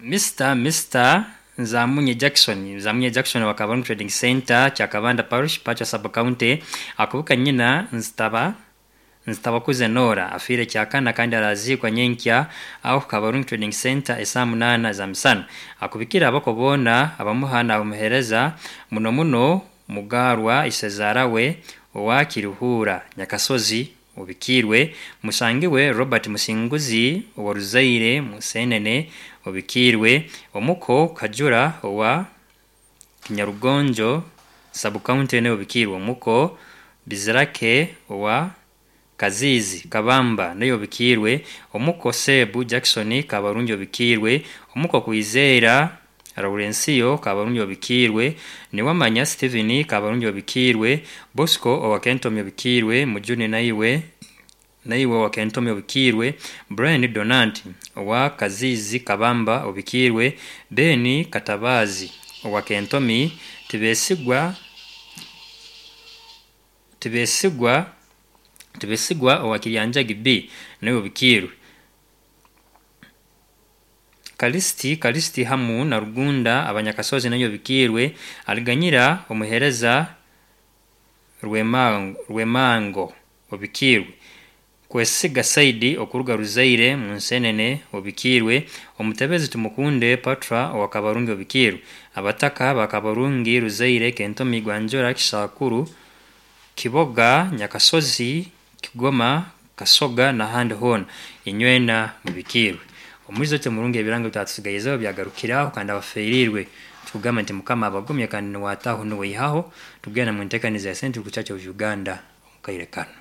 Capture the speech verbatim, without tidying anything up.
Mister Mister Nzamunye Jackson, Nzamunye Jackson wa Kabarungi Trading Center, Kyakabanda Parish, Pacha Sub County, akubuka nyina Nzitaba Nzitabakuze Nora afiire kyakana kandi araziikwa nyenkya aho Kabarungi Trading Center esaa munaana za misana. Akubikira abako boona abamuha n'abamuheereza muno muno Mugarwa Isezara we owa Kiruhura Nyakasozi obikiirwe, musangiwe Robert Musinguzi owa Ruzaire Musenene obikiirwe, omuko Kajura owa Kinyarugonjo Sub County nawe obikiirwe, omuko Bizirake owa Kaziizi Kabamba nawe obikiirwe, omuko Sebu Jackson Kabarungi obikiirwe, omuko Kwizera Laurensiyo Kabarungi obikiirwe, Niwamanya Stephen Kabarungi obikiirwe, Bosco owa Kentomi obikiirwe, Mujuni naiwe naiwe owa Kentomi obikiirwe, Brian Donant owa Kaziizi Kabamba obikiirwe, Ben Katabazi owa Kentomi, Tibesigwa Tibesigwa Tibesigwa owa Kiryanjagi B nawe obikiirwe. Kalisiti Kalisiti hamu na Rugunda abanyakasozi nayo obikiirwe, Aliganyira omuheereza Rwemango, Rwemango obikiirwe, Kwesiga Saidi okuruga Ruzaire Munsenene obikiirwe, Omutebezi Tumukunde Patra owa Kabarungi obikiirwe, Abataka ba Kabarungi Ruzaire Kentomi Gwanjura Kisakuru Kiboga Nyakasozi Kigoma Kasoga n'ahandi hoona inywena mubikiirwe. Omwizo murungi ebirango bitatusigaizeho byagarukiraho kandi abafeerirwe tukugamba nti Mukama abagumye kandi niwataho niweihaho tugenda mu nteekaniza ya Central Church of Uganda omu kaire kanu.